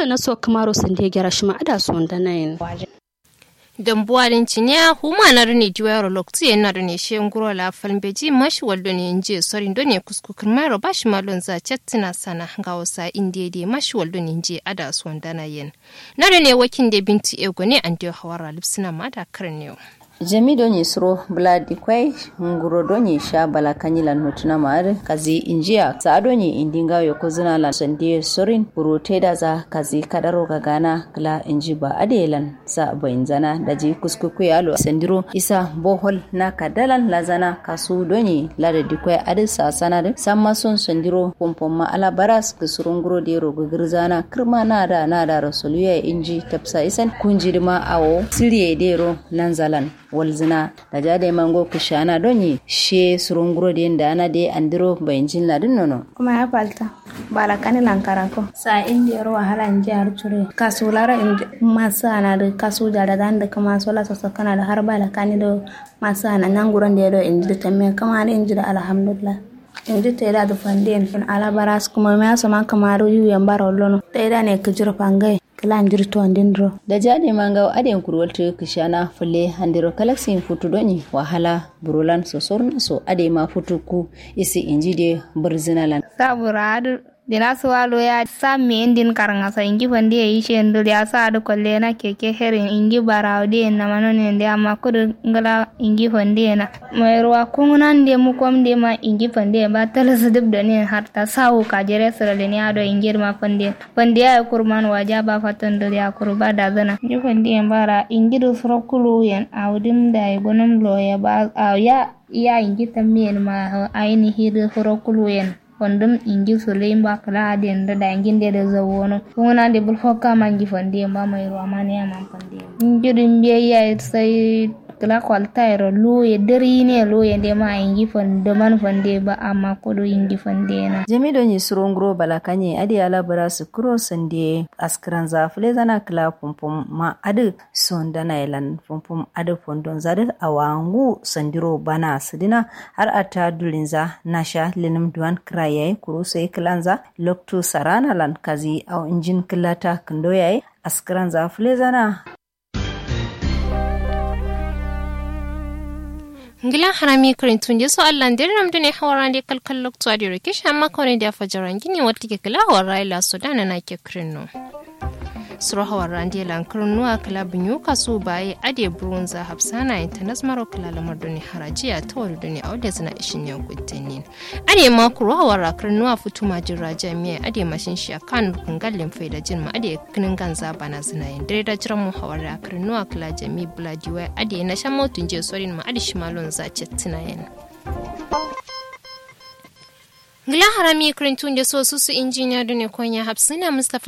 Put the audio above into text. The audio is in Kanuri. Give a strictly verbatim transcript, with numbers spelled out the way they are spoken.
Naso kǝmaro sande gera shima ada sondanayin. Dambuwa din ciniya huma na done diwayaro loktu ye na done she nguro la falmbeji mashi wal done nje sorin done kusku kirmairo ba shima lonza chattina sana ngawo sa indiye de mashi wal done nje ada sondanayin. Na done wakin de binti ego ne ande hawara lipsina ma da kirnewo. Jami donyi suro bla dikwai nguro donyi sha bala kanyi lan notuna ma adǝ kazi injiya sa donyi indi ngawo ye kozuna lan sandiye sorin buro taidaza kazi kadaro gagana kla inji ba adǝ ye lan sa bainzana daji kuskuku ye alo sandiro isa bohol na kadalan lazana kasu donyi lada dikwai adǝ sa sana dǝ samma son sandiro pompomma ala baras kǝsuro nguro dero gǝgǝrzana kǝrma nada nadaro soluya inji tapsa isan kunji dǝma awo siriye dero nanzalan walzǝna. Daji adai ma ngo kǝshana donyi she suro nguro den dana de andiro bainjin ladǝn nono. Kuma ya falta bala kani lankarako sa indiyero wahala nji har curo kasu laro indi masu anadǝ kasu jadadandǝ kǝma sola soso kanadǝ har bala kani do masu ana nyanguron de do indi dǝ tamme kǝma dǝ indi dǝ alhamdulillah. Indi taida dǝ fande yen ala baras kǝma miya soma kǝma dǝ yu yambaro lono taida ne kǝjiro fangai. Kǝla njiri tondin duro. Daji adai ma ngawo adai nkurwaltu kǝshana fǝlle andiro kalaksin futu donyi wahala burolan sosorna so adai ma futu ku isi inji de bǝrzǝna lan. Sa bura adǝ dina suwa loya sa meyen din karngasa inji fande ye ishe ndul ya sa adǝ kolle na keke herin inji barawo de yen namano nen de amma kudu ngla inji fande ye na. Mairuwa kungnan de mukom de ma inji fande ye ba talasǝ dǝb done yen har ta sawu kajere sǝralin ya do inji dǝ ma fande yen. Fande yayi kurman waja ba faton dǝ ya kuru ba dazǝna nji fande yen ba ra inji dǝ suro kuluwu yen awo dǝm dayi gonum loye ba awo ya ya inji tammi yen ma ainihi dǝ suro kuluwu yen. Fandum inji suluyin ba kǝla adǝ yen dǝ dayi njin de dǝ zawono kunguna de bul fokka ma nji fande yen ba mairuwa ma niya man fande yen nji dǝ mbiye yayi sai. Kǝla kwalta yero luye dǝri ne luye nde ma inji fande man fande ba amma kudu inji fande na. Jami donyi suro nguro bala kanye adǝ ala bǝra sǝkkǝro sande askǝranza fǝlezana kǝla pumpum ma adǝ sondana ye lan pumpum adǝ fondonza dǝ awa ngu sandiro bana sǝdǝna har atta dulinza nasha lǝnǝm duwan kǝra yayi kuru sai kǝlanza loktu sarana lan kazi au injin kǝllata kǝndo yayi askǝranza fǝlezana. Ngla harami kǝrintunde so allah nde dǝ namdǝ ne hawarande kalkal loktu adǝ yero kishi amma kone de afajaran gini wattǝ ke kǝla hawarra ye laso dana nake kǝrinno. Suro hawarande lan kǝrinnuwa kǝla bǝnyu kasu baye adǝ ye burunza hafsana ye tanas maro kǝla lamar done haraji ya tawari done awo lezǝna ishin ya guddenin. Adǝ ye ma kuru hawarra kǝrinnuwa futu majin raja miya adǝ ye mashin shiya kanu kǝngal len faida jin ma adǝ ye kǝnǝnganza banazǝna yen dǝre da jiran mu hawarra kǝrinnuwa kǝla jami bǝla diwai adǝ ye nasha motu nje sorin ma adǝ shima lonza cettǝna yen. Ngla harami kǝrintunde so susu injiniya done konya hafsǝna mustapha.